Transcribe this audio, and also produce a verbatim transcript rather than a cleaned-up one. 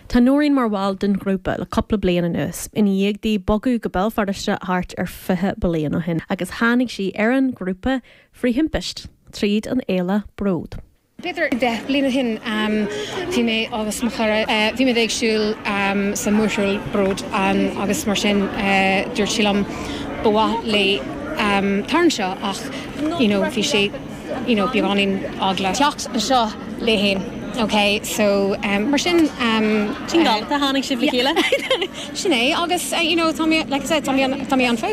Tá Nóirín mar bhall den ghrúpa le cúpla bliain anuas, ina dhiaidh di bogadh go Béal Feirste thart ar fiche bliain ó shin, agus tháinig sí ar an grúpa trí thimpiste tríd an fhéile Bród. B'fhéidir deich bliain ó shin bhí mé agus mo chara bhí mé ag siúl sa mórshiúl Bród agus mar sin dúirt sí liom ba mhaith léi tar anseo ach you know, bhí sé you know, beagáinín eagla teacht anseo léi féin. Okay, so um, mar sin um, Sin tháinig sibh le chéile? Sin é agus uh, you know, tá like I said, tá mé an fós.